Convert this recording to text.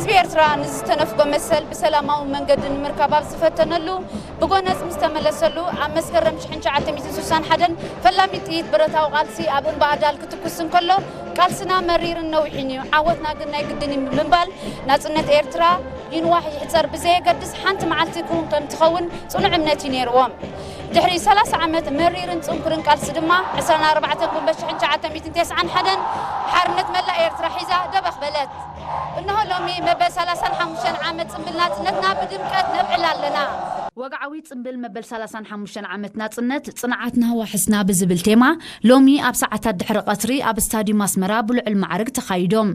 ህዝቢ ኤርትራ ንዝተነፍጎ መሰል ብሰላማዊ መንገዲ ንምርካብ ኣብ ዝፈተነሉ፣ ብጎነጽ ምስ ተመለሰሉ፣ ኣብ መስከረም ሽሕን ትሽዓተ ሚእትን ስሳን ሓደን ፈላሚት ጥይት ብረታዊ ቃልሲ ኣብ እምባ ኣዳል ክትኩስ እንከሎ፣ ቃልስና መሪርን ነዊሕን እዩ፣ ዓወትና ግን ናይ ግድን እዩ ብምባል፣ ናጽነት ኤርትራ ይንዋሕ ይሕጸር ብዘየገድስ ሓንቲ መዓልቲ ክውን ከም ትኸውን ጽኑዕ እምነት እዩ ነይርዎም። ድሕሪ ሰላሳ ዓመት መሪርን ጽንኩርን ቃልሲ ድማ፣ ዕስራን ኣርባዕተን ጉንበት ሽሕን ትሽዓተ ሚእትን ተስዓን ሓደን ሓርነት መላእ ኤርትራ ሒዛ ደበኽ በለት። እንሆ ሎሚ መበል ሰላሳን ሓሙሽተን ዓመት ጽምብል ናጽነትና ብድምቀት ነብዕል ኣለና። ወግዓዊ ጽምብል መበል ሰላሳን ሓሙሽተን ዓመት ናጽነት፣ ጽንዓትና ዋሕስና ብዝብል ቴማ፣ ሎሚ ኣብ ሰዓታት ድሕሪ ቀትሪ ኣብ ስታድዩም ኣስመራ ብልዑል ማዕርግ ተኻይዶም።